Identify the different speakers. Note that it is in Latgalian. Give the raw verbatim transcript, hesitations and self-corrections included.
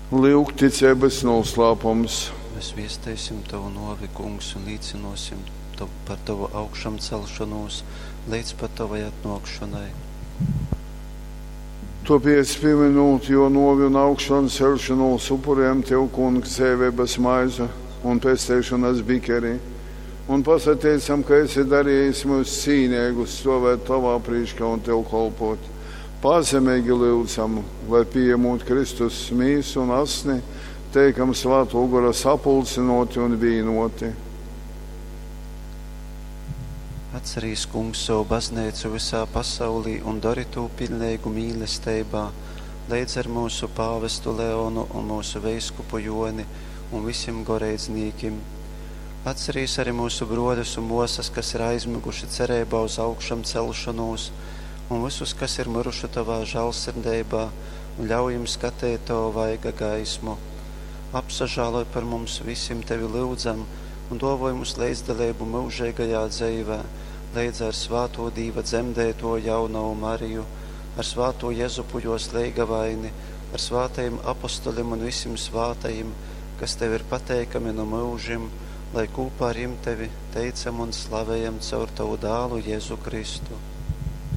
Speaker 1: Lyuk ticeibys nūslāpums.
Speaker 2: Mēs viesteisim Tovu nōvi, Kungs, un līcynōsim to, par Tovu augšamcelšonūs leidz pat Tovai atnōkšonai.
Speaker 1: Tōpēc, pīmynūt jō nōvi un augšanceļšonūs, upurejam Tev, Kungs, dzeiveibas maizi un pesteišonas bikeri, un pasateicam, ka esi darejis myus cīneigus stōvēt Tovā prīškā un Tev kolpōt. Pazemeigi lyudzam, lai, pījamūt Kristus mīsu un asni, teikam Svātō Gora sapulcynōti un vīnōti.
Speaker 2: Atcerīs, Kungs, sovu bazneicu vysā pasaulī un dori tū piļneigu mīlesteibā, leidz ar myusu pāvestu Leonu un myusu veiskupu Jōni un visim goreidznīkim. Atcerīs arī myusu brōļus un mōsas, kas ir aizmyguši cereibā uz augšamcelšonūs, un vysus, kas ir myruši Tovā žālsirdeibā, un ļauj jim skateit Tova vaiga gaismu. Apsažāloj par mums visim, Tevi lyudzam, un dōvoj mums leidzdaleibu myužeigajā dzeivē, leidz ar svātū Dīva dzemdeitoju jaunovu Mariju, ar svātū Jezupu jōs leigavaini, ar svātajim apostolim un visim svātajim, kas Tev ir pateikami nu myužim, lai kūpā ar jim Tevi teicam un slavejam caur Tovu dālu Jēzu Kristu.